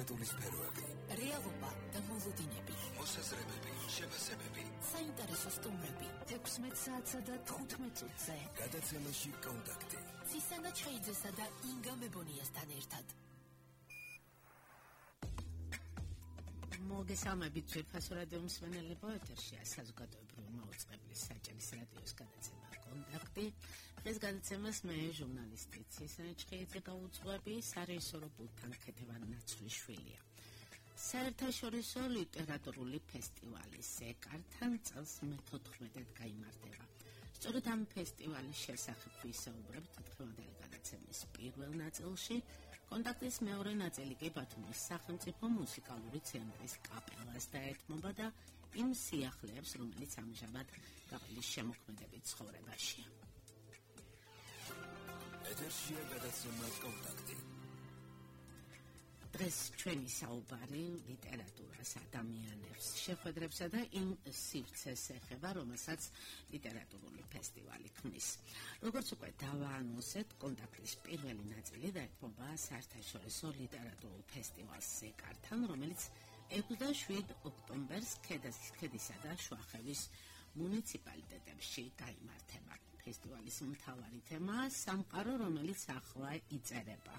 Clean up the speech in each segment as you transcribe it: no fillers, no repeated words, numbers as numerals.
ლიტერატურის სფეროები, რეალობა და მოლოდინები, მოსაზრებები, შეფასებები, საინტერესო სტუმრები. 16 საათსა და 15 წუთზე. გადაცემაში კონტაქტი. ცისანა ჩხეიძესა და ინგა მებონიასთან ერთად. მოგესალმებით ძვირფასო რადიო მსმენელებო, ეთერშია საზოგადოებრივი მაუწყებლის საჭირის რადიოს გადაცემა კონტაქტი. დღეს გადაცემას მე ჟურნალისტი ცისანა ჩხეიძე გაუძღვები, სარეჟისორო პულტთან ქეთევან ნაცვლიშვილია. საერთაშორისო ლიტერატურული ფესტივალი სეკართან წელს მე-14-ად გაიმართება. სწორედ ამ ფესტივალის შესახებ ვისაუბრებთ დღევანდელი გადაცემის პირველ ნაწილში. კონტაქტის მეორე ნაწილი კი ბათუმის სახელმწიფო მუსიკალური ცენტრის კაპელას დაეთმობა და იმ სიახლეებს, რომელიც ამჟამად კაპელის შემოქმედებით ცხოვრებაშია. ეთერშია გადაცემა კონტაქტი. დღეს ჩვენი საუბარი ლიტერატურას, ადამიანებს, შეხვედრებსა და იმ სივრცეს ეხება, რომელსაც ლიტერატურული ფესტივალი ქმნის. როგორც უკვე დავაანონსეთ, კონტაქტის პირველი ნაწილი დაეთმობა საერთაშორისო ლიტერატურულ ფესტივალს სეკართან, რომელიც 6-7 ოქტომბერს ქედისა და შუახევის მუნიციპალიტეტებში გაიმართება. ფესტივალის მთავარი თემაა სამყარო, რომელიც ახლა იწერება.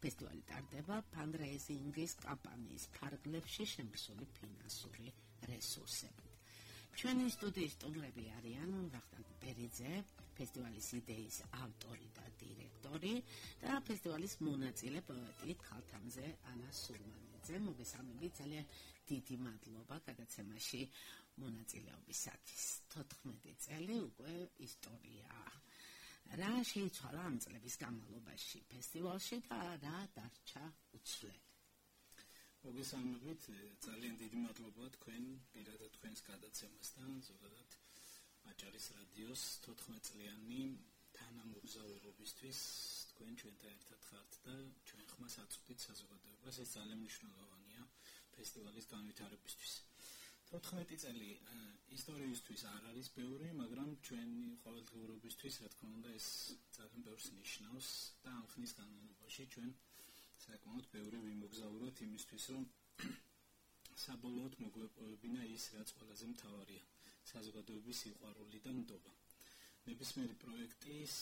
ფესტივალი ტარდება ფანდრეიზინგის კამპანიის ფარგლებში შემოსული ფინანსური რესურსებით. ჩვენი სტუდიის სტუმრები არიან ვახტანგ ბერიძე, ფესტივალის იდეის ავტორი და დირექტორი და ფესტივალის მონაწილე პოეტი ქალთამზე ანა სურმანიძე. მოგესალმებით, ძალიან დიდი მადლობა გადაცემაში მონაწილეობისათვის. 14 წელი უკვე ისტორიაა. რა შეიცვალა ამ წლების განმავლობაში ფესტივალში და რა დარჩა უცვლელი? მოგესალმებით, ძალიან დიდი მადლობა თქვენ პირადად თქვენს გადაცემასთან, ზოგადად აჭარის რადიოს 14 წლიანი თანამოგზაურობისთვის. თქვენ ჩვენთან ერთად ხართ და ჩვენ ხმას აწვდით საზოგადოებას, ეს ძალიან მნიშვნელოვანია ფესტივალის განვითარებისთვის. 14 წელი ისტორიისთვის არ არის ბევრი, მაგრამ ჩვენი ყოველდღიურობისთვის, რა თქმა უნდა, ეს ძალიან ბევრს ნიშნავს და ამ ხნის განმავლობაში ჩვენ საკმაოდ ბევრი ვიმოგზაუროთ იმისთვის, რომ საბოლოოდ მოგვეპოვებინა ის, რაც ყველაზე მთავარია, საზოგადოების სიყვარული და ნდობა. ნებისმიერი პროექტის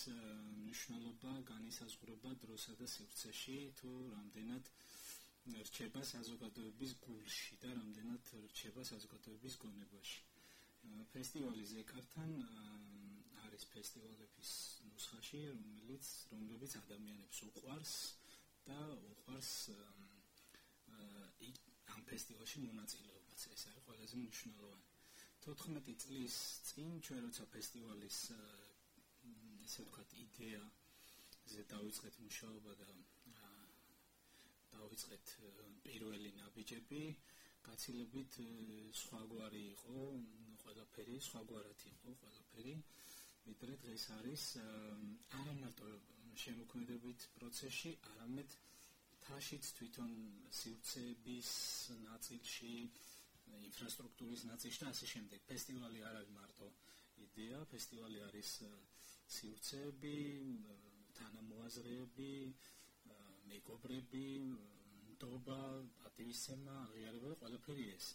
მნიშვნელობა განისაზღვრება დროსა და სივრცეში, თუ რამდენად რჩება საზოგადოების გულში და რამდენად რჩება საზოგადოების გონებაში. ფესტივალი ზეკართან არის ფესტივალების ნუსხაში, რომლებიც ადამიანებს უყვარს და უყვარს ამ ფესტივალში მონაწილეობაც. ეს არის ყველაზე მნიშვნელოვანი. 14 წლის წინ ჩვენ როცა ფესტივალის ესე ვთქვათ იდეაზე დავიწყეთ მუშაობა და დავიწყეთ პირველი ნაბიჯები, გაცილებით სხვაგვარი იყო ყველაფერი, სხვაგვარად იყო ყველაფერი, ვიდრე დღეს არის არა მარტო შემოქმედებით პროცესში, არამედ თაშიც თვითონ სივრცეების ნაწილში, ინფრასტრუქტურის ნაწილში და ასე შემდეგ. ფესტივალი არ არის მარტო იდეა, ფესტივალი არის სივრცეები, თანამოაზრეები, მეგობრები, ნდობა, პატივისცემა, აღიარება და ყველაფერი ეს.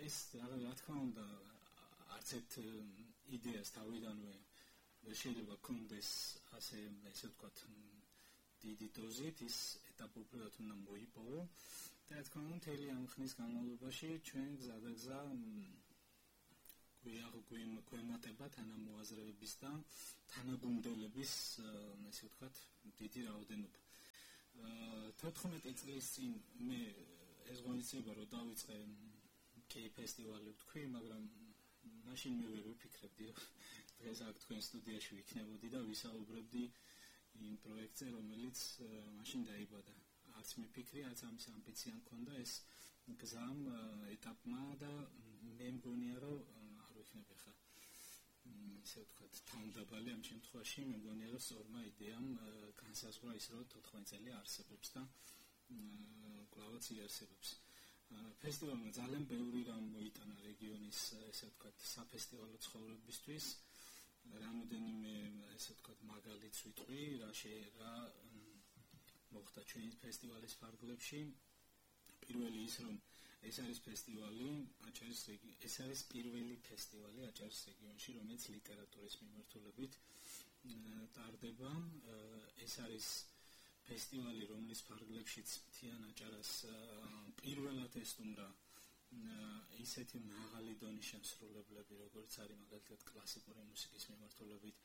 ეს რა თქმა უნდა არც ერთ იდეას თავიდანვე შეიძლება გქონდეს ასე ვთქვათ დიდი დოზით, ის ეტაპობრივად უნდა მოიპოვო და რა თქმა უნდა მთელი ამ ხნის განმავლობაში ჩვენ გზადაგზა გვემატება თანამოაზრეების და თანაგუნდელების ასე ვთქვათ დიდი რაოდენობა. 14 წლის წინ მე ეს ღონისძიება რო დავიწყე კი ფესტივალი ვთქვი, მაგრამ მაშინ მე ვერ ვიფიქრებდი, რომ დღეს აქ თქვენ სტუდიაში ვიქნებოდი და ვისაუბრებდი იმ პროექტზე, რომელიც მაშინ დაიბადა. არც მიფიქრი, არც ამის ამბიცია მქონდა ეს გზამ, ეტაპმა და მე მგონია, რომ არ ვიქნები ხა ისე ვთქვათ თავდაბალი ამ შემთხვევაში, მე მგონია, რომ სწორმა იდეამ განსაზღვრა ის, რომ 14 წელი არსებობს და კვლავაც იარსებობს. ფესტივალმა ძალიან ბევრი რამ მოიტანა რეგიონის ესე ვთქვათ საფესტივალო ცხოვრებისთვის. რამოდენიმე ესე ვთქვათ მაგალითს ვიტყვი, რა მოხდა ჩვენი ფესტივალის ფარგლებში. პირველი ის რომ ეს არის ფესტივალი ეს არის პირველი ფესტივალი აჭარის რეგიონში, რომელიც ლიტერატურის მიმართულებით ტარდება. ეს არის ფესტივალი, რომლის ფარგლებშიც მთიან აჭარას პირველად ესტუმრა ისეთი მაღალი დონის შემსრულებლები, როგორც არის მაგალითად კლასიკური მუსიკის მიმართულებით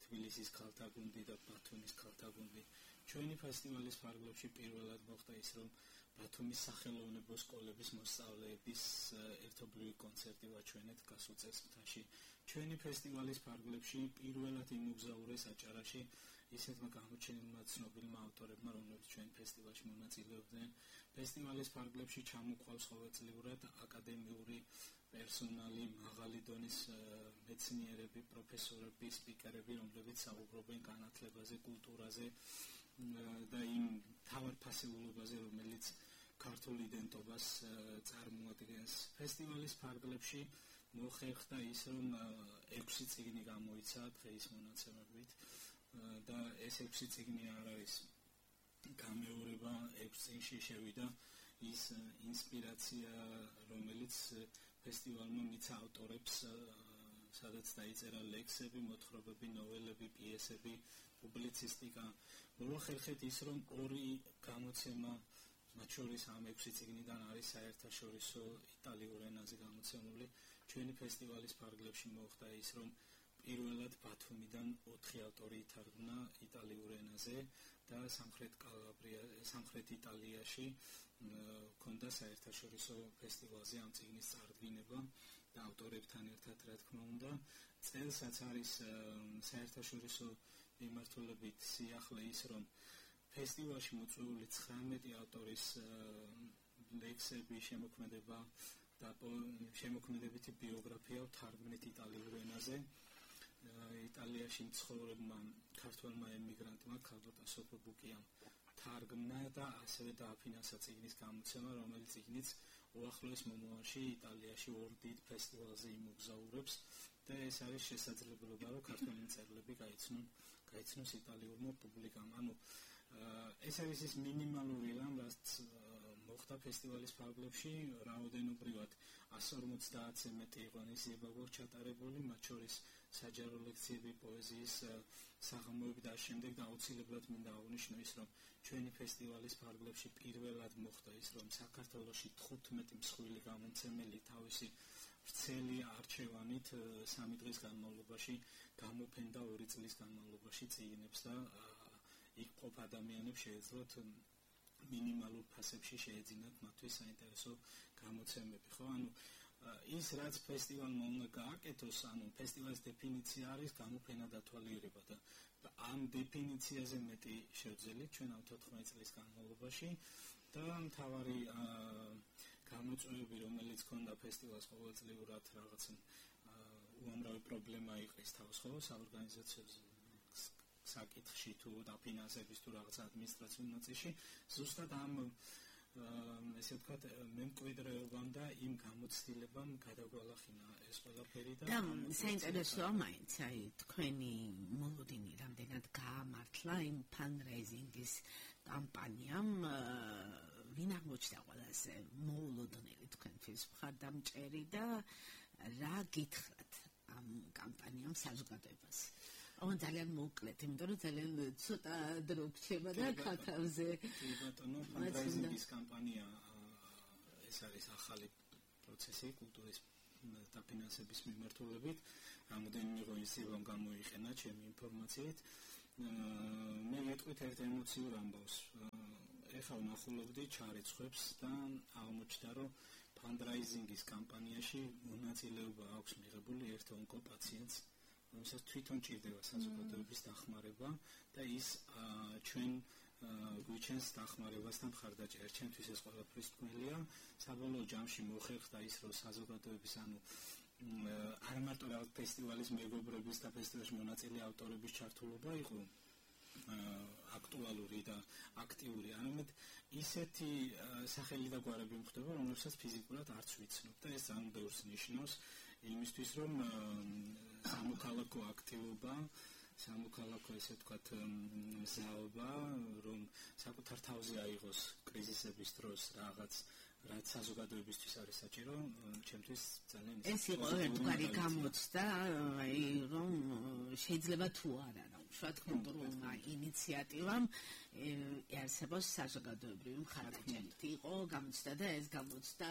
თბილისის ქალთა გუნდი და ბათუმის ქალთა გუნდი. ჩვენი ფესტივალის ფარგლებში პირველად მოხდა ის, რომ ბათუმის სახელოვნებო სკოლების მოსწავლეების ერთობლივი კონცერტი ვაჩვენეთ გასულ წელს. ჩვენი ფესტივალის ფარგლებში პირველად იმოგზაურეს აჭარაში ისეთმა გამოჩენილმა ცნობილმა ავტორებმა, რომლებიც ჩვენ ფესტივალში მონაწილეობდნენ. ფესტივალის ფარგლებში ჩამოყვალს ყოველწლიურად აკადემიური პერსონალი, მაღალი დონის მეცნიერები, პროფესორები, სპიკერები, რომლებიც საუბრობენ განათლებაზე, კულტურაზე და იმ თავარ ფასეულობაზე, რომელიც ქართულ იდენტობას წარმოადგენს. ფესტივალის ფარგლებში მოხერხდა ის, რომ 6 წიგნი გამოიცა დღეის მონაცემებით და ეს 6 წიგნი არ არის გამეორება, 6 წიგნში შევიდა ის ინსპირაცია, რომელიც ფესტივალმა მიცა ავტორებს, სადაც დაიწერა ლექსები, მოთხრობები, ნოველები, პიესები, პუბლიცისტიკა. მოახერხეთ ის, რომ 2 გამოცემა მათ შორის ამ 6 წიგნიდან არის საერთაშორისო იტალიურ ენაზე გამოცემული. ჩვენი ფესტივალის ფარგლებში მოხდა ის, რომ პირველად ბათუმიდან 4 ავტორი ითარგმნა იტალიურ ენაზე და სამხრეთ იტალიაში ქონდა საერთაშორისო ფესტივალზე ამ წიგნის წარდგინება და ავტორებთან ერთად, რა თქმა უნდა, წელსაც არის საერთაშორისო მიმართულებით სიახლე ის, რომ ფესტივალში მოწვეული 19 ავტორის ლექსები, შემოქმედება და შემოქმედებითი ბიოგრაფია თარგმნით იტალიურ ენაზე. იტალიაში მცხოვრებმა ქართველმა ემიგრანტმა ქალბატონ სოფო ბუკიამ თარგმნა და ასევე დააფინანსა წიგნის გამოცემა, რომელიც წიგნიც უახლოეს მომავალში იტალიაში 2 დიდ ფესტივალზე იმოგზაურებს და ეს არის შესაძლებლობა, რომ ქართველი მწერლები გაიცნოს იტალიურმა პუბლიკამ. ეს არის ის მინიმალური რამ, რაც მოხდა ფესტივალის ფარგლებში. რაოდენობრივად 150-ზე მეტი ღონისძიება გვაქვს ჩატარებული, მათ შორის საჯარო ლექციები, პოეზიის საღამოები და შემდეგ და აუცილებლად მინდა აღნიშნო ის, რომ ჩვენი ფესტივალის ფარგლებში პირველად მოხდა ის, რომ საქართველოში 15 მსხვილი გამომცემელი თავისი ვრცელი არჩევანით 3 დღის განმავლობაში გამოფენდა 2 წლის განმავლობაში წიგნებს და იქ ყოფ ადამიანებს შეეძლოთ მინიმალურ ფასებში შეეძინათ მათთვის საინტერესო გამოცემები. ის რაც ფესტივალმა უნდა გააკეთოს, ფესტივალის დეფინიცია არის გამოფენა დათვალიერება და ამ დეფინიციაზე მეტი შევძელით ჩვენ ამ 14 წლის განმავლობაში და მთავარი გამოწვევები, რომელიც ქონდა ფესტივალს ყოველწლიურად რაღაც უამრავი პრობლემა იყრის თავს, საორგანიზაციო საკითხში თუ დაფინანსების თუ რაღაც ადმინისტრაციულ ნაწილში, ზუსტად ამ ესე ვთქვათ, მემკვიდრეობამ და იმ გამოცდილებამ გადაგვალახინა ეს ყველაფერი და საინტერესოა მაინც, თქვენი მოლოდინი რამდენად გაამართლა იმ ფანრაიზინგის კამპანიამ, ვინ აღმოჩნდა ყველაზე მოულოდნელი თქვენთვის მხარდამჭერი და რა გითხრათ ამ კამპანიამ საზოგადოებას? ძალიან მოკლედ, იმიტომ რომ ძალიან ცოტა დრო გრჩება და ქათამზე. ბატონო, ფანრაიზინგის კამპანია ეს არის ახალი პროცესი კულტურის დაფინანსების მიმართულებით. რამოდენიმე ღონისძიებამ გამოიყენა ჩემი ინფორმაციით. მე მეთქვით ერთ ემოციურ ამბავს. ეხლა ვნახულობდი ჩარიცხვებს და აღმოჩნდა, რომ ფანრაიზინგის კამპანიაში მონაწილეობა აქვს მიღებული ერთ ონკო პაციენტს, რომელსაც თვითონ ჭირდება საზოგადოების დახმარება და ის ჩვენ გვიჩენს დახმარებასთან მხარდაჭერას. ჩვენთვის ეს ყველაფრის თქმელია. საბოლოო ჯამში მოხერხდა ის, რომ საზოგადოების არ მარტო რაღაც ფესტივალის მეგობრების და ფესტივალში მონაწილე ავტორების ჩართულობა იყო აქტუალური და აქტიური, არამედ ისეთი სახელი და გვარები მხდება, რომლებსაც ფიზიკურად არც ვიცნობ და ეს ძალიან ბევრს ნიშნავს იმისთვის, რომ სამოქალაქო აქტივობა, სამოქალაქო ესე ვთქვათ მზაობა, რომ საკუთარ თავზე აიღოს კრიზისების დროს რაღაც რაც საზოგადოებისთვის არის საჭირო, ჩემთვის ძალიან ეს იყო ერთგვარი გამოცდა, აი რომ შეიძლება თუ არა უშუალოდ კულტურულმა ინიციატივამ არსებობს საზოგადოებრივი მხარეჭერით. იყო გამოცდა და ეს გამოცდა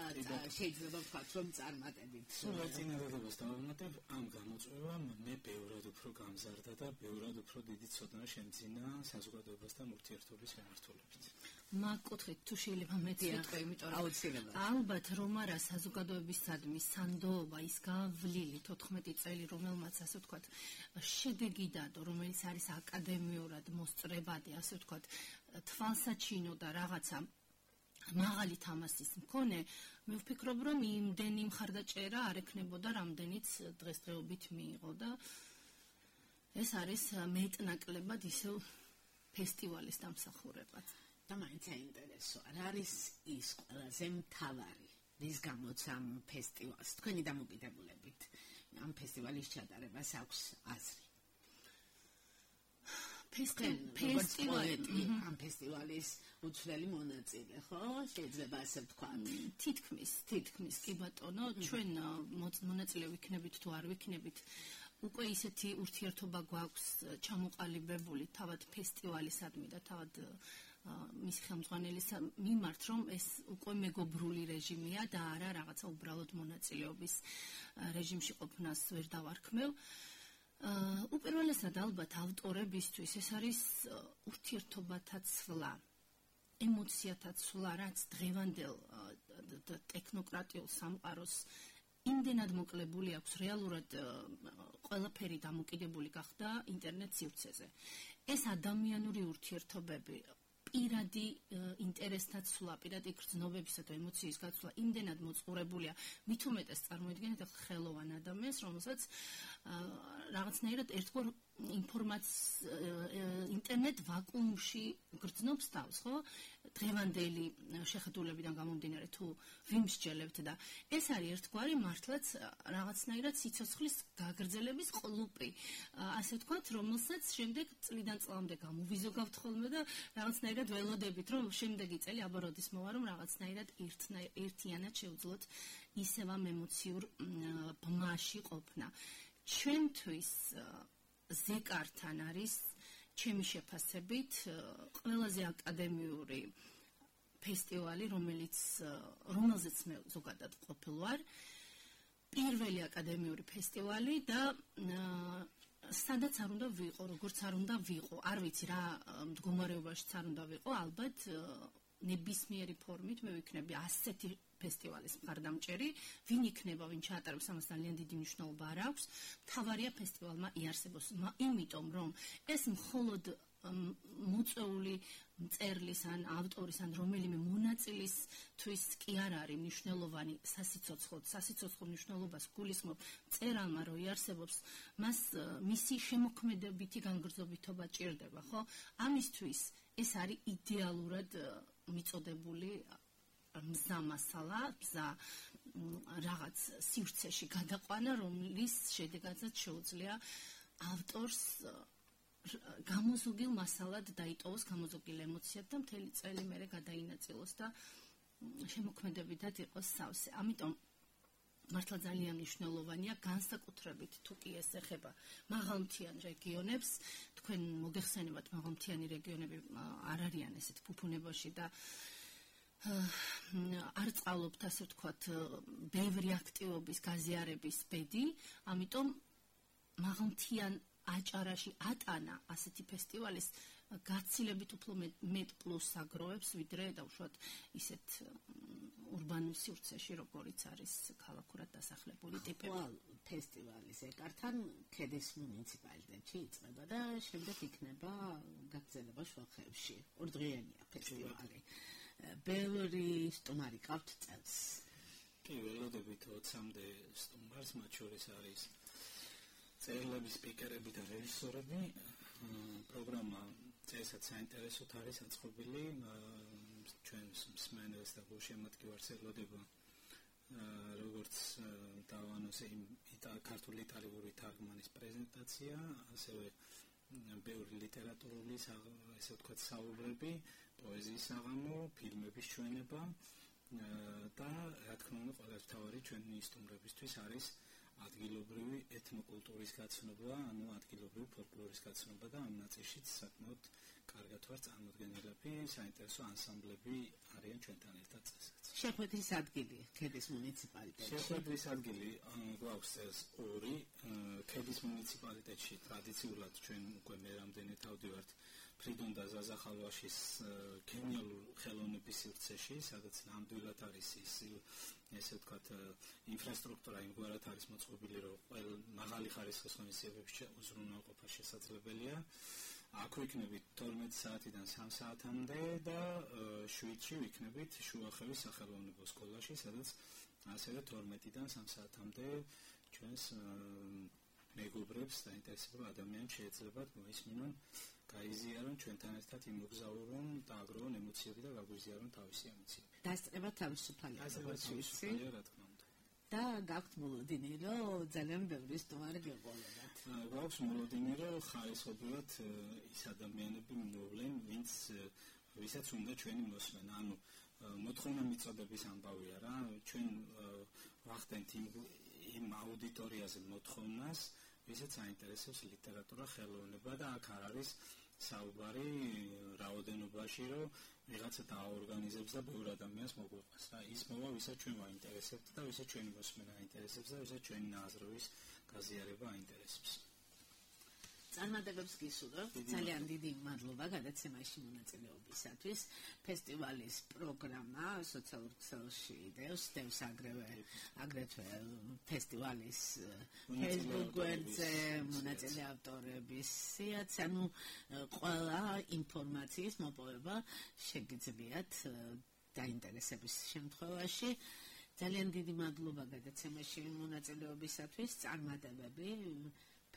შეიძლება ვთქვათ რომ წარმატებით. წინადადებას დავამატებ, ამ გამოწვევამ მე ბევრად უფრო გამზარდა და ბევრად უფრო დიდი ცოდნა შემძინა საზოგადოებასთან ურთიერთობის მიმართულებით. მაგკუთხით თუ შეიძლება მეც ვიტყვი, იმიტომ რომ აუცილებლად. ალბათ რომ არა საზოგადოებისადმი სანდოობა ის გავლილი 14 წელი რომელმაც ასე ვთქვათ შედეგი დადო, რომელიც არის აკადემიურად მოსწრებადი, ასე ვთქვათ, თვალსაჩინო და რაღაცა მაღალი თამასის მქონე, მე ვფიქრობ რომ იმდენი მხარდაჭერა არ ექნებოდა, რამდენიც დღესდღეობით მიიღო და ეს არის მეტნაკლებად ისევ ფესტივალის დამსახურებად. და მაინც საინტერესო რა არის ის ყველაზე მთავარი რის გამოც ამ ფესტივალს თქვენი დამოკიდებულებით ამ ფესტივალის ჩატარებას აქვს აზრი ფესტივალი ამ ფესტივალის უცვლელი მონაწილე ხო შეიძლება ასე ვთქვათ თითქმის კი ბატონო ჩვენ მონაწილე ვიქნებით თუ არ ვიქნებით უკვე ისეთი ურთიერთობა გვაქვს ჩამოყალიბებული თავად ფესტივალისადმი და თავად მის ხელმძღვანელის მიმართ რომ ეს უკვე მეგობრული რეჟიმია და არა რაღაცა უბრალოდ მონაწილეობის რეჟიმში ყოფნას ვერ დავარქმევ. უპირველესად ალბათ ავტორებისთვის ეს არის ურთიერთობათა ცვლა, ემოციათა ცვლა, რაც დღევანდელ ტექნოკრატიულ სამყაროს იმდენად მოკლებული აქვს, რეალურად ყველაფერი დამოკიდებული გახდა ინტერნეტ სივრცეზე. ეს ადამიანური ურთიერთობები პირადი ინტერესთა ცვლა, პირადი გრძნობებისა და ემოციის გაცვლა იმდენად მოწყურებულია, მით უმეტეს წარმოიდგინეთ ხელოვან ადამიანს, რომელსაც რაღაცნაირად ერთგვარ ინტერნეტ ვაკუუმში გრძნობს თავს, ხო? დღევანდელი შეხედულებიდან გამომდინარე თუ ვიმსჯელებთ და ეს არის ერთგვარი მართლაც რაღაცნაირად სიცოცხლის გაგრძელების ყლუპი, ასე ვთქვათ, რომელსაც შემდეგ წლიდან წლამდე გამოვიზოგავთ ხოლმე და რაღაცნაირად ველოდებით, რომ შემდეგი წელი აბა როდის მოვა, რომ რაღაცნაირად ერთიანად შევძლოთ ისევ ამ ემოციურ ბმაში ყოფნა. ჩვენთვის ზეკართან არის ჩემი შეფასებით ყველაზე აკადემიური ფესტივალი, რომელზეც მე ზოგადად ყოფილ ვარ. პირველი აკადემიური ფესტივალი და სადაც არ უნდა ვიყო, როგორც არ უნდა ვიყო, არ ვიცი რა მდგომარეობაშიც არ უნდა ვიყო, ალბათ ნებისმიერი ფორმით მე ვიქნები ასეთი ფესტივალის მხარდამჭერი, ვინ იქნება, ვინ ჩაატარებს, ამას ძალიან დიდი მნიშვნელობა არ აქვს. მთავარია ფესტივალმა იარსებოს, იმიტომ რომ ეს მხოლოდ მოწვეული მწერლის ან ავტორის ან რომელიმე მონაწილისთვის კი არ არის მნიშვნელოვანი სასიცოცხლო მნიშვნელობას გულისხმობ მწერალმა, რომ იარსებობს, მას მისი შემოქმედებითი განგრძობითობა ჭირდება, ხო? ამისთვის ეს არის იდეალურად მიწოდებული მზა მასალა, მზა რაღაც სივრცეში გადაყვანა, რომლის შედეგადაც შეუძლია ავტორს გამოზოგილ მასალად დაიტოვოს, გამოზოგილ ემოციად და მთელი წელი მერე გადაინაწილოს და შემოქმედებითად იყოს სავსე. ამიტომ მართლა ძალიან მნიშვნელოვანია განსაკუთრებით თუ კი ეს ეხება მაღალმთიან რეგიონებს, თქვენ მოგეხსენებათ მაღალმთიანი რეგიონები არ არიან ესეთ ფუფუნებაში და არ წყალობთ, ასე ვთქვათ, ბევრი აქტივობის გაზიარების ბედი, ამიტომ მაღალმთიან აჭარაში ატანა ასეთი ფესტივალის გაცილებით უფრო მეტ პლუს აგროვებს, ვიდრე დაუშვათ ისეთ ურბანულ სივრცეში, როგორიც არის ქალაქურად დასახლებული ტიპები. ფესტივალი ზეკართან ქედის მუნიციპალიტეტში იწყება და შემდეგ იქნება გაგრძელება შუახევში. ორდღიენია ფესტივალი. ბევრი სტუმარი ყავთ წელს. კი, ველოდებით 20-მდე სტუმარს, მათ შორის არის წერილები, სპიკერები და რეჟისორები. პროგრამა წესად საინტერესოდ არის აწყობილი. ჩვენს მსმენელს და გულშემატკივარს ელოდება როგორც დავანოსე ქართული იტალიური თარგმანის პრეზენტაცია, ასევე ბევრი ლიტერატურული, ესე ვთქვათ, საუბრები, პოეზიის საღამო, ფილმების ჩვენება და რა თქმა უნდა ყველაზე მთავარი ჩვენი სტუმრებისთვის არის ადგილობრივი ეთნოკულტურის გაცნობა, ანუ ადგილობრივი ფოლკლორის გაცნობა და ამ ნაწილშიც საკმაოდ კარგად ვარ წარმოდგენილები, საინტერესო ანსამბლები არიან ჩვენთან ერთად წესად. შეხვედრის ადგილი ქედის მუნიციპალიტეტში. შეხვედრის ადგილი გვაქვს წელს 2. ქედის მუნიციპალიტეტში ტრადიციულად ჩვენ უკვე მე რამდენი თავდივართ ფრიდონ და ზაზა ხალვაშის გენიალურ ხელოვნების სივრცეში, სადაც ნამდვილად არის ის ესე ვთქვათ ინფრასტრუქტურა იმგვარად არის მოწყობილი, რომ ყველა მაღალი ხარისხის ღონისძიებებში უზრუნველყოფა შესაძლებელია. აქ ვიქნებით 12 საათიდან 3 საათამდე და 7-ში ვიქნებით შუახევის სახელოვნებო სკოლაში, სადაც ასევე 12-დან 3 საათამდე ჩვენს მეგობრებს და ინტერესებულ ადამიანებს შეეძლებათ მოისმინონ, გაიზიარონ ჩვენთან ერთად იმოგზაურონ და აგროვონ ემოციები და გაგვიზიარონ თავისი ემოციები. დასწრება თავისუფალი. რა თქმა უნდა. და გაქვთ მოლოდინი, რომ ძალიან ბევრი სტუმარი გეყოლებათ. გვაქვს მოლოდინი, რომ ხარისხობრივად ის ადამიანები მოვლენ, ვისაც უნდა ჩვენი მოსმენა. ანუ მოთხოვნა მიწოდების ამბავია რა, ჩვენ ვახდენთ იმ აუდიტორიაზე მოთხოვნას, ვისაც აინტერესებს ლიტერატურა, ხელოვნება და აქ არ არის საუბარი რაოდენობაში, რომ ვიღაცა დააორგანიზებს და ბევრ ადამიანს მოგვიყვანს რა. ის მოვა, ვისაც ჩვენ ვაინტერესებთ და ვისაც ჩვენი მოსმენა აინტერესებს და ვისაც ჩვენი ნაზრობის გაზიარება აინტერესებს. წარმატებებს გისურვებთ. ძალიან დიდი მადლობა გადაცემაში მონაწილეობისათვის. ფესტივალის პროგრამა სოციალურ ქსელში დევს აგრეთვე ფესტივალის Facebook გვერდზე მონაწილე ავტორების სიაც, ანუ ყველა ინფორმაციის მოპოვება შეგიძლიათ დაინტერესების შემთხვევაში. ძალიან დიდი მადლობა გადაცემაში მონაწილეობისათვის. წარმატებები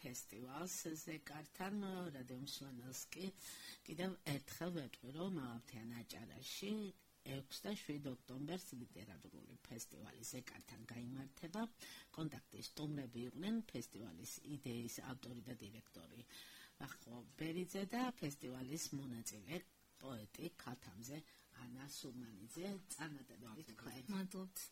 ფესტივალს ზეკართან რადიო მსმენელს კი კიდევ ერთხელ ვეტყვი, რომ მაღალმთიან აჭარაში 6 და 7 ოქტომბერს ლიტერატურული ფესტივალი ზეკართან გაიმართება. კონტაქტის სტუმრები იყვნენ ფესტივალის იდეის ავტორი და დირექტორი ვახო ბერიძე და ფესტივალის მონაწილე პოეტი ქათამზე ანა სურმანიძე. წარმატებები თქვენ. მადლობთ.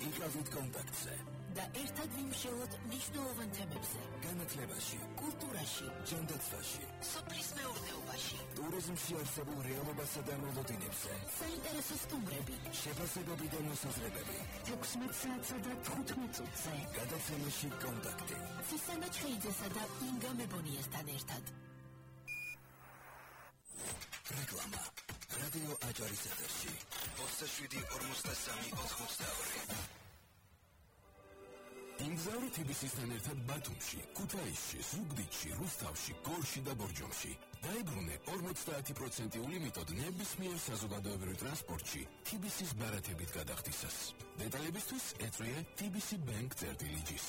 იკავით კონტაქტზე და ერთად ვიმშევლოთ მნიშვნელოვან თემებზე. განათლებაში, კულტურაში, ჯანდაცვაში, სოფლის მეურნეობაში, ტურიზმში არსებულ რეალობასა და მოლოდინებზე. საინტერესო სტუმრები, შეფასებები და მოსაზრებები. 16 საათსა და 15 წუთზე. გადაცემაში კონტაქტი. ცისანა ჩხეიძესა და ინგა მებონიასთან ერთად. რეკლამა. რადიო აჭარის ეთერში 27-43-82. იმგზავრი თბილისთან ერთად ბათუმში, ქუთაისში, ზუგდიდში, რუსთავში, გორში და ბორჯომში. დაიბრუნე 50% ლიმიტოდ ნებისმიერ საზოგადოებრივ ტრანსპორტში თბილისის ბარათებით გადახდისას. დეტალებისთვის ეწვიე TBC Bank წერტილი G-ს.